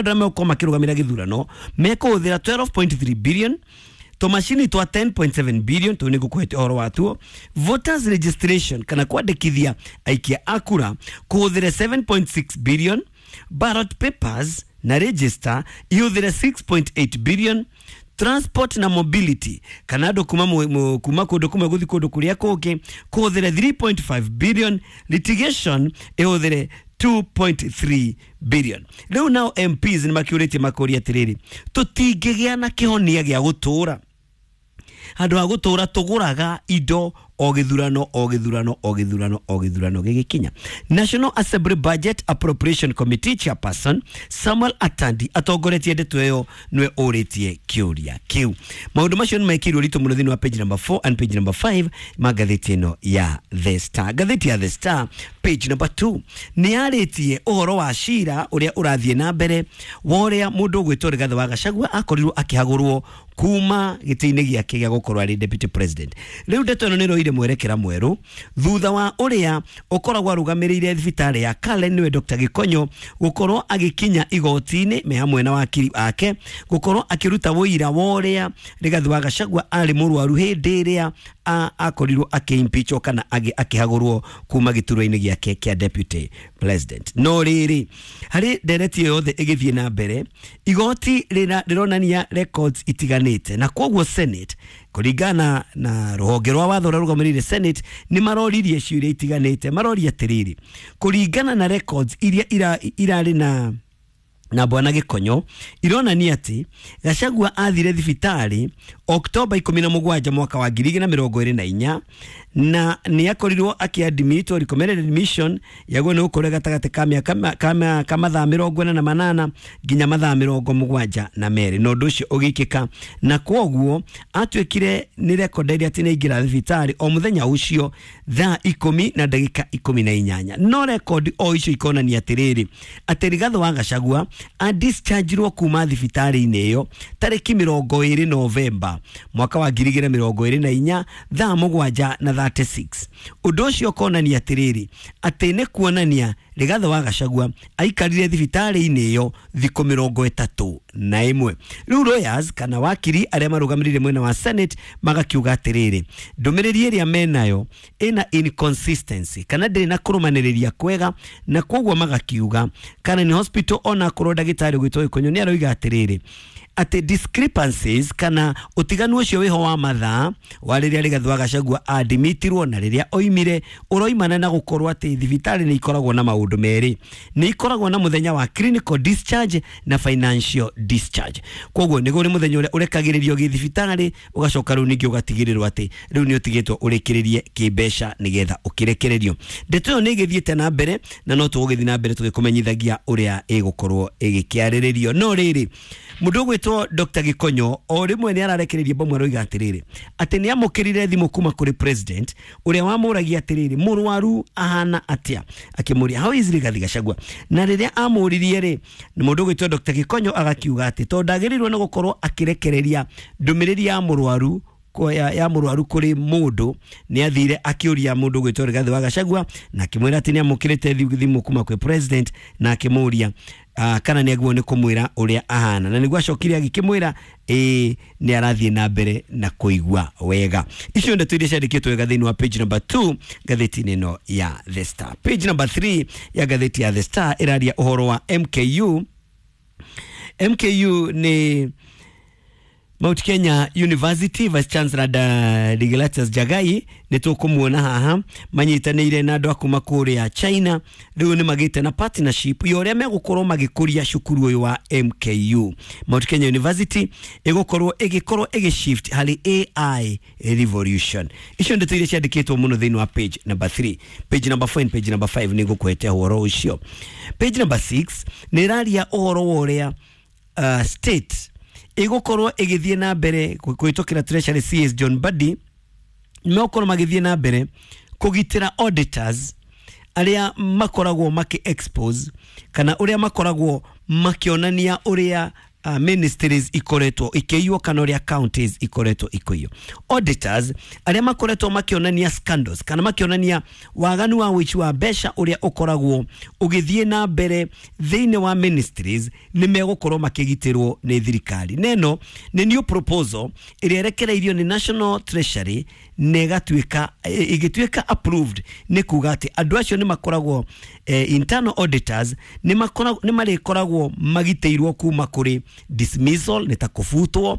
Arĩa megũkorwo makĩrũgamĩra gĩthurano mekũhũthĩra 12.3 billion, tũmacini twa 10.7 billion, tũu nĩ ngũkũhete ũhoro watuo. Voters registration kana kwandĩkithia aikia a kura kũhũthĩre 7.6 billion, ballot papers na register ihũthĩre 6.8 billion, transport na mobility kana andũ kuma, kuma kũndũ kũmwe gũthiĩ kũndũ kũrĩa kũngĩ kũhũthĩre 3.5 billion, litigation ĩhũthĩre 2.3 billion. Rĩu nao MPs nĩ makĩũrĩtie makũria atĩrĩrĩ, tũtingĩgĩa na kĩhonia gĩa gũtũũra handũ ha gũtũũra tũgũraga indo o gĩthurano o gĩthurano o gĩthurano o gĩthurano gĩgĩkinya. National Assembly Budget Appropriation Committee chairperson Samuel Atandi atongoretie ndeto ĩyo, nĩwe ũrĩtie kĩũria kĩu. Maũndũ macio nĩ mekĩirwo ritũ mũno thĩinĩ wa page number 4 and page number 5 ma ngathĩti ĩno ya The Star. Ngathĩti ya The Star page number 2 nĩ yarĩtie ũhoro wa cira ũrĩa ũrathiĩ na mbere wa ũrĩa mũndũ ũgwĩtwo Rigathĩ wa Gachagua akorirwo akĩhagũrwo kuma gĩtĩ-inĩ gĩake gĩa gũkorwo arĩ deputy president. Rĩu ndeto ĩno nĩ ĩroire mwerekera mwerũ thutha wa ũrĩa ũkoragwo arũgamĩrĩire thibitarĩ ya Karen, nĩwe Dr. Gĩkonyo, gũkorwo agĩkinya igoti-inĩ me hamwe na wakiri ake gũkorwo akĩruta ũira wa ũrĩa Rigathĩ wa Gachagua arĩ mũrwaru hĩndĩ ĩrĩa akorirwo akĩimpeachwo kana akĩhagũrwo kuma gĩturwa-inĩ gĩake kĩa deputy president. No rĩrĩ, harĩ ndereti ĩyo yothe ĩgĩthiĩ na mbere, igoti rĩronania records itiganĩte, na koguo Senate kũringana na rũhonge rwa watho ũrĩa rũgamĩrĩire Senate nĩ maroririe ciũria itiganĩte. Maroria atĩrĩrĩ, kũringana na records iria irarĩ na bwana Gĩkonyo ironania atĩ Gachagua athire thibitarĩ Oktoba 17 mwaka wa 2024, na nĩ akorirwo akĩadmitwo, recommended admission yaguo nĩ gũkorwo gatagatĩ ka mĩaka ka mathaa 48 nginya mathaa 72, na ũndũ ũcio ũgĩkĩka, na kwoguo atuĩkire nĩ rekondeire atĩ nĩ aingĩra thibitarĩ o mũthenya ũcio thaa 10:18. No rekondi o icio ikonania atĩrĩrĩ, atĩ Rigathĩ wa Gachagua adischargirwo kuma thibitarĩ-inĩ ĩyo tarĩki 20 Novemba mwaka wa 2024 thaa 7:36. Ũndũ ũcio ũkonania atĩrĩrĩ, atĩ nĩ kuonania Rigathĩ wa Gachagua aikarire thibitarĩ-inĩ ĩyo thikũ 31. Rĩu lawyers kana wakiri arĩa marũgamĩrĩire mwena wa Senate magakiuga atĩrĩrĩ, ndũmĩrĩri ĩrĩa menayo ĩna inconsistency kana ndĩrĩ na kũrũmanĩrĩria kwega, na koguo magakiuga Karen Hospital ona akorwo ndagĩtarĩ ũgwĩtwo Gĩkonyo nĩ aroiga atĩrĩrĩ, atĩ discrepancies kana ũtiganu ũcio wĩho wa mathaa wa rĩrĩa Rigathĩ wa Gachagua adimitirwo na rĩrĩa oimire ũroimana na gũkorwo atĩ thibitarĩ nĩ ikoragwo na maũndũ merĩ, nĩ ikoragwo na mũthenya wa clinical discharge na financial discharge. Koguo nĩ kũrĩ mũthenya ũrĩa ũrekagĩrĩrio gĩthibitarĩ, ũgacoka rĩu ningĩ ũgatigĩrĩrwo atĩ rĩu nĩ ũtigĩtwo ũrĩkĩrĩrie kĩmbeca nĩgetha ũkĩrekererio. Ndeto ĩyo nĩ ĩgĩthiĩte na mbere na no tũgũgĩthiĩ na mbere tũgĩkũmenyithagia ũrĩa ĩgũkorwo ĩgĩkĩarĩrĩrio. No rĩrĩ, mũndũ ũgwĩtwo Dr. Gĩkonyo o rĩmwe nĩ ararekereria bomu, aroiga atĩrĩrĩ, atĩ nĩ amũkĩrire thimũ kuma kũrĩ president ũrĩa wamũragia atĩrĩrĩ, mũrwaru ahana atĩa, akĩmũria how is Rigathĩ Gachagua, na rĩrĩa amũririe rĩ, mũndũ ũgwĩtwo Dr. Gĩkonyo agakiuga atĩ tondũ ndagĩrĩirwo nĩ gũkorwo akĩrekereria ndũmĩrĩri ya mũrwaru ya mũrwaru kũrĩ mũndũ, nĩ athire akĩũria mũndũ ũgwĩtwo Rigathĩ wa Gachagua na akĩmwĩra atĩ nĩ amũkĩrĩte thimũ kuma kwĩ president, na akĩmũria kana nĩ agĩrĩirwo nĩ kũmwĩra ũrĩa ahana, na nĩguo acokire agĩkĩmwĩra ĩĩ nĩ arathiĩ na mbere na kũigua wega. Icio ndeto iria ciandĩkĩtwo wega thĩinĩ wa page number 2 ngathĩti-inĩ ĩno ya The Star. Page number 3 ya ngathĩti ya The Star ĩraria ũhoro wa MKU. MKU nĩ Mount Kenya University, Vice Chancellor Deogratias Jagai nĩ tũkũmuona haha manyitanĩire na andũ a kuma kũrĩa China. Rĩu nĩ magĩte na partnership ya ũrĩa megũkorwo magĩkũria cukuru ũyũ wa MKU. Mount Kenya University ĩgũkorwo ĩgĩkorwo ĩgĩshift harĩ AI revolution. Icio ndeto iria ciandĩkĩtwo mũno thĩinĩ wa page number 3. Page number 4 and page number 5 nĩ ngũkũhete ũhoro ũcio. Page number 6 nĩ ĩraria ũhoro wa ũrĩa state ĩgũkorwo ĩgĩthiĩ na mbere kũhĩtũkĩra Treasury CS John Mbadi, megũkorwo magĩthiĩ na mbere kũgitĩra auditors arĩa makoragwo makĩ expose kana ũrĩa makoragwo makĩonania ũrĩa ministries ikoretwo ikĩiywo kana ũrĩa counties ikoretwo ikĩiywo. Auditors arĩa makoretwo makĩonania scandals kana makĩonania waganu wa ũici wa mbeca ũrĩa ũkoragwo ũgĩthiĩ na mbere thĩinĩ wa ministries nĩ megũkorwo makĩgitĩrwo nĩ thirikari. Neno nĩ new proposal ĩrĩa ĩrekereirio nĩ National Treasury na ĩgatuĩka ĩgĩtuĩka approved, nĩ kuga atĩ andũ acio nĩ makoragwo internal auditors nĩ marĩkoragwo magitĩirwo kuma kũrĩ dismissal, nĩ ta kũbutwo,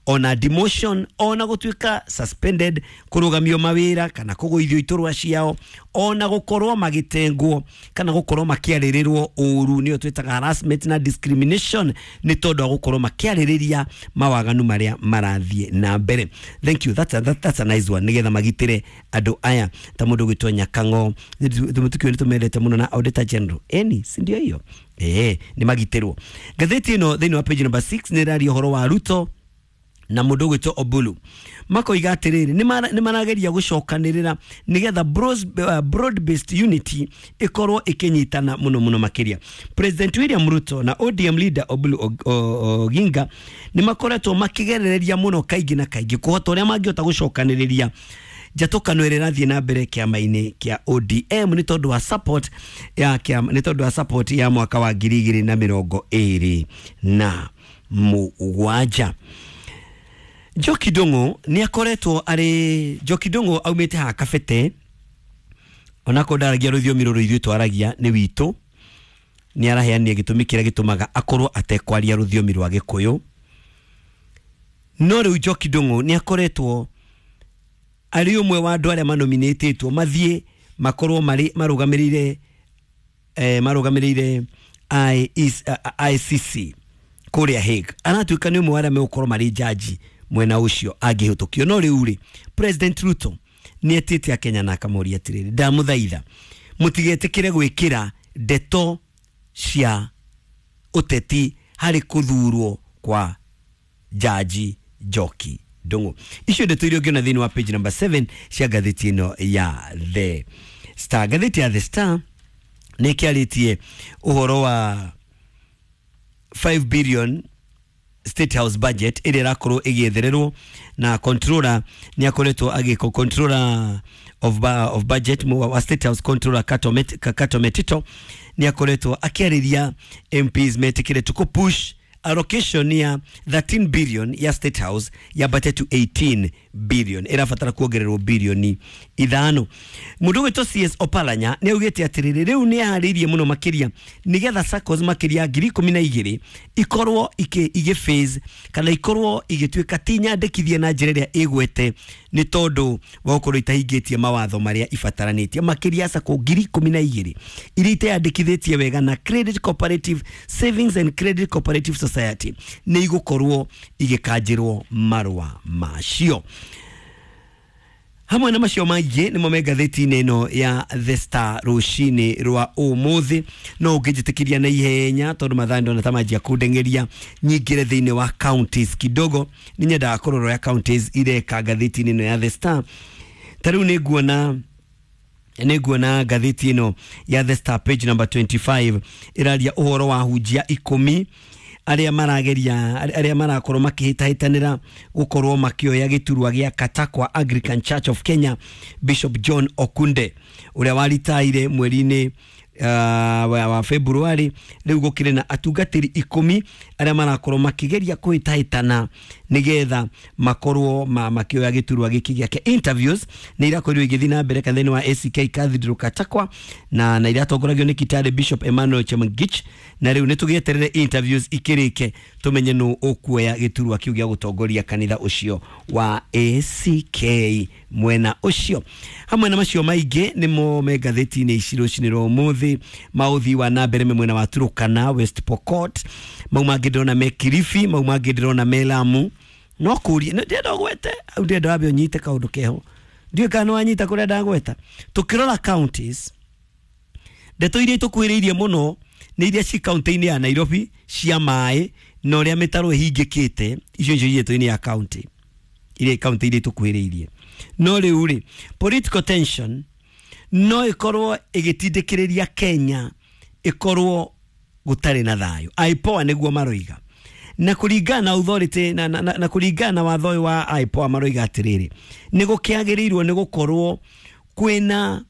ona demotion, ona gũtuĩka suspended, kũrũgamio mawĩra kana kũgũithio iturwa ciao, ona gũkorwo magĩtengwo kana gũkorwo makĩarĩrĩrwo ũru, nĩyo twĩtaga harassment na discrimination, nĩ tondũ wa gũkorwo makĩarĩrĩria mawaganu marĩa marathiĩ na mbere. Thank you, that's a nice one, nĩgetha magitĩre andũ aya ta mũndũ ũgwĩtwo Nyakang'o tũmũtukio nĩ tũmendete mũno na Auditor General eni, si ndio hiyo? Nĩ magitĩrwo. Ngathĩti ĩno thĩinĩ wa page number 6 nĩ ĩraria ũhoro wa Ruto na mũndũ ũgwĩtwo Obulu, makoiga atĩrĩrĩ nĩ marageria gũcokanĩrĩra nĩgetha broad based unity ĩkorwo ĩkĩnyitana mũno mũno makĩria. President William Ruto na ODM leader Obulu Oginga nĩ makoretwo makĩgerereria mũno kaingĩ na kaingĩ kũhota ũrĩa mangĩhota gũcokanĩrĩria njatũkano ĩrĩa ĩrathiĩ na mbere kĩama-inĩ kĩa ODM nĩ tondũ wa support ya kĩama, nĩ tondũ wa support ya mwaka wa 2027. Njoki Ndung'u nĩ akoretwo arĩ, Njoki Ndung'u aumĩte haha Kabete, onakorwo ndaragia rũthiomi rũrũ ithuĩ twaragia nĩ witũ, nĩ araheanire gĩtũmi kĩrĩa gĩtũmaga akorwo atekwaria rũthiomi rwa Gĩkũyũ. No rĩu Njoki Ndung'u nĩ akoretwo arĩ ũmwe wa andũ arĩa manominĩtĩtwo mathiĩ makorwo marĩ marũgamĩrĩire marũgamĩrĩire ICC kũrĩa Hague. Aratuĩka nĩ ũmwe wa arĩa megũkorwo marĩ jaji mwena ũcio angĩhĩtũkio. No rĩu rĩ, President Ruto nĩ etĩte Akenya na akamũria atĩrĩrĩ, ndamũthaitha mũtigetĩkĩre gwĩkĩra ndeto cia ũteti harĩ kũthurwo kwa jaji Njoki Ndung'u. Icio ndeto iria ũngĩona thĩinĩ wa page number 7 cia ngathĩti ĩno ya The Star. Ngathĩti ya The Star nĩ ĩkĩarĩtie ũhoro wa 5 billion State House budget ĩrĩa ĩrakorwo ĩgĩethererwo na controller nĩ akoretwo agĩko controller of budget wa State House controller Kato Metito nĩ akoretwo akĩarĩria MPs metĩkĩre to push allocation ya 13 billion ya State House yambate to 18 billion, ĩrabatara kuongererwo bilioni 5. Mũndũ ũgwĩtwo CS Oparanya nĩ augĩte atĩrĩrĩ, rĩu nĩ aharĩirie mũno makĩria nĩgetha SACCOs makĩria 12,000 ikorwo igĩ phase kana ikorwo igĩtuĩka ti nyandĩkithie na njĩra ĩrĩa ĩgwete nĩ tondũ wa gũkorwo itahingĩtie mawatho marĩa ibataranĩtie. Makĩria SACCO 12,000 iria iteyandĩkithĩtie wega na Credit Cooperative Savings and Credit Cooperative Society nĩ igũkorwo igĩkanjĩrwo marũa macio. Hamwe na macio maingĩ nĩmo me ngathĩti-inĩ ĩno ya The Star rũcinĩ rwa ũmũthĩ. No ũngĩnjĩtĩkĩria na ihenya tondũ mathaa ndona ta manjia kũndeng'eria nyingĩre thĩinĩ wa counties kidogo, nĩ nyendaga kũrora ũrĩa counties ireka ngathĩti-inĩ ĩno ya The Star. Ta rĩu nĩ nguona ngathĩti ĩno ya The Star page number 25 ĩraria ũhoro wa hunjia 10 arĩa marageria arĩa marakorwo makĩhĩtahĩtanĩra gũkorwo makĩoya gĩturwa gĩa Katakwa Anglican Church of Kenya, Bishop John Okunde ũrĩa waritaire mweri-inĩ wa February. Rĩu gũkĩrĩ na atungatĩri 10 arĩa marakorwo makĩgeria kũhĩtahĩtana nĩgetha makorwo makĩoya gĩturwa gĩkĩ gĩake. Interviews nĩ irakorirwo igĩthiĩ na mbere kanitha-inĩ wa ACK Cathedral Katakwa na iratongoragio nĩ Kitale Bishop Emmanuel Chemangich, na rĩu nĩ tũgĩeterere interviews ikĩrĩke tũmenye nũ ũkuoya gĩturwa kĩu gĩa gũtongoria kanitha ũcio wa ACK mwena ũcio. Hamwe na macio maingĩ nĩmo me ngathĩti-inĩ ici rũcinĩ rwa ũmũthĩ. Maũthii wa na mbere me mwena wa Turukana, West Pokot, mau mangĩ ndĩrona me Kilifi, mau mangĩ ndĩrona me Lamu. No kũria ndĩrenda ũgwete au ndĩrenda wambe ũnyite kaũndũ keho, ndiũĩ kana nĩwanyita kũrĩa ndagweta. Tũkĩrora counties, ndeto iria itũkuhĩrĩirie mũno nĩ iria ci kaunti-inĩ ya Nairobi cia maĩ na ũrĩa mĩtaro ĩhingĩkĩte, icio nĩcio irĩ ya county iria kaunti iria itũkuhĩrĩirie. No rĩu rĩ, political tension no ĩkorwo ĩgĩtindĩkĩrĩria Kenya ĩkorwo gũtarĩ na thayũ. IPOA nĩguo maroiga. Na kũringana na authority na kũringana na watho ũyũ wa IPOA, maroiga atĩrĩrĩ, nĩ gũkĩagĩrĩirwo nĩ gũkorwo kwĩna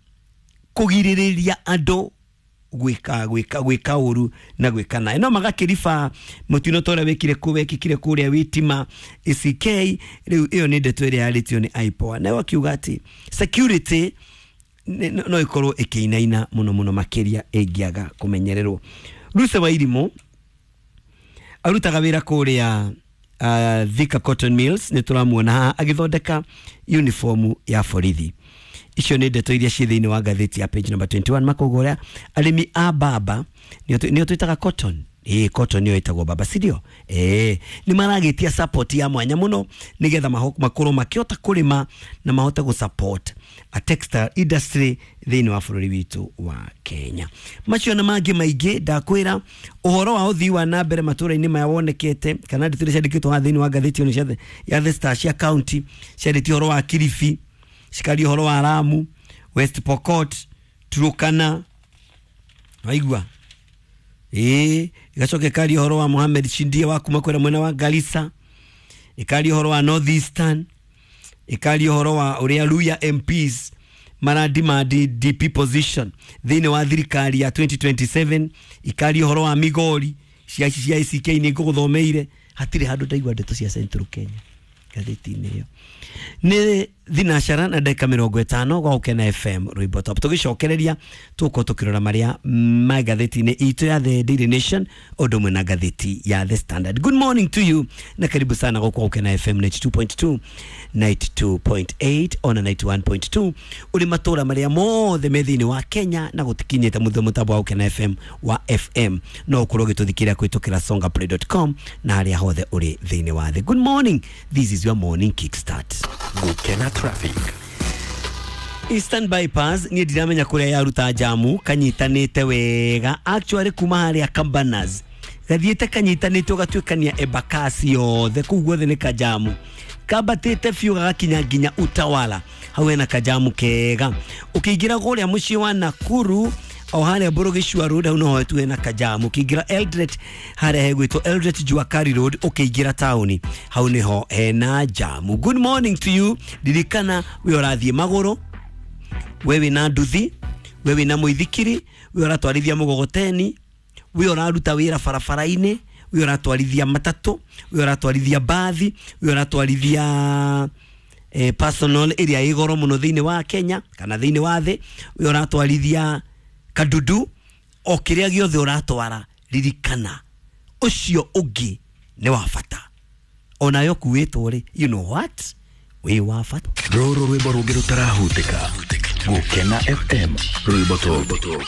kũgirĩrĩria andũ gwĩka ũru na gwĩka naĩ. No magakĩriba mũtino ta ũrĩa wĩkire kũ wekĩkire kũrĩa Witima ACK. Rĩu ĩyo nĩ ndeto ĩrĩa yarĩtio nĩ IPOA, nayo akiuga atĩ security no ĩkorwo ĩkĩinaina mũno mũno makĩria ĩngĩaga kũmenyererwo. Ruse wa Irimũ arutaga wĩra kũrĩa Thika Cotton Mills, nĩ tũramuona haha agĩthondeka uniform ya borithi. Icio nĩ ndeto iria ciĩ thĩinĩ wa ngathĩti ya page number 21. Makauga ũrĩa arĩmi a mbamba, nĩo twĩtaga cotton, ĩĩ, cotton nĩyo ĩtagwo mbamba, sindio? Ĩĩ, nĩ maragĩtia support ya mwanya mũno nĩgetha makorwo makĩhota kũrĩma na mahote gũ support a textile industry thĩinĩ wa bũrũri witũ wa Kenya. Macio na mangĩ maingĩ ndakwĩra ũhoro wa ũthii wa na mbere matũra-inĩ maya wonekete, kana ndeto iria ciandĩkĩtwo haha thĩinĩ wa ngathĩti ĩno ya The Star cia county, ciarĩtie ũhoro wa Kilifi, cikaria ũhoro wa Lamu, West Pokot, Turkana, waigua? Ĩĩ, igacoka ĩkaria ũhoro wa Mohamed Shindie wa kuma kwĩra mwena wa Garissa, ĩkaria ũhoro wa North Eastern, ĩkaria ũhoro wa ũrĩa Luya MPs maradimandi DP position thĩinĩ wa thirikari ya 2027, ikaria ũhoro wa Migori cia ACK nĩ ngũgũthomeire. Hatirĩ handũ ndaigua ndeto cia Central Kenya ngathĩti-inĩ ĩyo. Nĩ thinacara na ndagĩka 50 gwa Gũkena FM rwĩmbo top. Tũgĩcokereria tũgũkorwo tũkĩrora marĩa ma ngathĩti-inĩ itũ ya The Daily Nation ũndũ ũmwe na ngathĩti ya The Standard. Good morning to you na karibu sana gũkũ Gũkena FM 92.2, 92.8 ona 91.2 ũrĩ matũra marĩa mothe me thĩinĩ wa Kenya na gũtikinyĩte mũthĩ mũtambo wa Gũkena FM wa FM, no ũkorwo ũgĩtũthikĩrĩria kũhĩtũkĩra songaplay.com na harĩa hothe ũrĩ thĩinĩ wa thĩ. Good morning, this is your morning kickstart. Gukena Traffic. Eastern Bypass niĩ ndiramenya kũrĩa yaruta jamu, kanyitanĩte wega actually kuma harĩa Cabanas gathiĩte kanyitanĩte ũgatuĩkania Embakasi yothe, kũu guothe nĩ kajamu kambatĩte biũ gagakinya nginya Utawala, hau hena kajamu kega. Ũkĩingĩra kũrĩa mũciĩ wa Nakuru o harĩa Burugicua Road, hau noho tu hena kajamu. Ũkĩingĩra Eldoret harĩa hegwĩtwo Eldoret Juakari Road, ũkĩingĩra taũni hau nĩho hena jamu. Good morning to you. Ririkana we ũrathiĩ magũrũ, we wĩna nduthi, we wĩna mũithikiri, we ũratwarithia mũgogoteni, we ũraruta wĩra barabara-inĩ, we ũratwarithia matatũ, we ũratwarithia mbathi, we ũratwarithia personal ĩrĩa ĩ goro mũno thĩinĩ wa Kenya kana thĩinĩ wa thĩ, we ũratwarithia kadudu, o kĩrĩa gĩothe ũratwara, ririkana ũcio ũngĩ nĩ wa bata onayo kuĩtwo rĩ, you know what, wĩ wa bata. Rũrũ rwĩmbo rũngĩ rũtarahutĩka. Gukena FM rwĩmbo top.